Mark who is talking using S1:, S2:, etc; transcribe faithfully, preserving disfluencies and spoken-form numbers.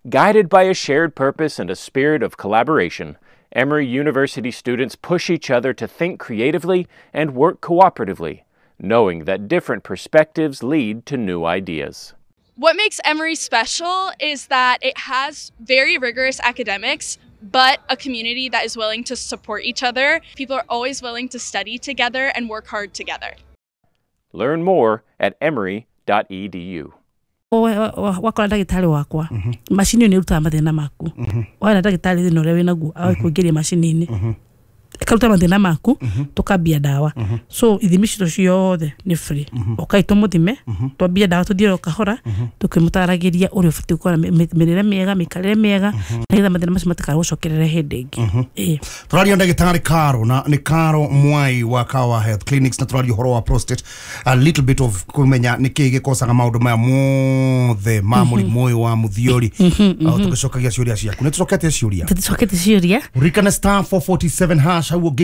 S1: Guided by a shared purpose and a spirit of collaboration, Emory University students push each other to think creatively and work cooperatively, knowing that different perspectives lead to new ideas.
S2: What makes Emory special is that it has very rigorous academics, but a community that is willing to support each other. People are always willing to study together and work hard together.
S1: Learn more at emory dot e d u.
S3: Wakora ndagĩtarĩ wakwa macini ĩyo nĩ ĩrutaga mathĩna maku. Wona ndagĩtarĩ thĩna ũrĩa wĩnaguo agakũingĩria macini-inĩ ĩkaruta mathĩna maku, tũkambia ndawa. So ithimi citũ ciothe nĩ free. Ũkai tũmũthime, twambie ndawa tũthiĩ o kahora tũkĩmũtaragĩria ũrĩa ũbatiĩ gũkorwo na mĩrĩre mĩega, mĩikarĩre mĩega, nĩgetha mathĩna macio matikaragũcokerere hĩndĩ ĩngĩ. Ĩĩ.
S4: Tũraria ndagĩtarĩ Caro, na nĩ Caro Mwai wa Kawa Health Clinics, na tũraria ũhoro wa prostate, a little bit of kũmenya nĩkĩĩ gĩkocaga maũndũ maya mothe ma mũrimũ ũyũ wa mũthiori. Tũgĩcokagia ciũria ciaku. Nĩ tũcokete ciũria?
S3: Tũticokete ciũria.
S4: Ririkana star four forty-seven hash hau.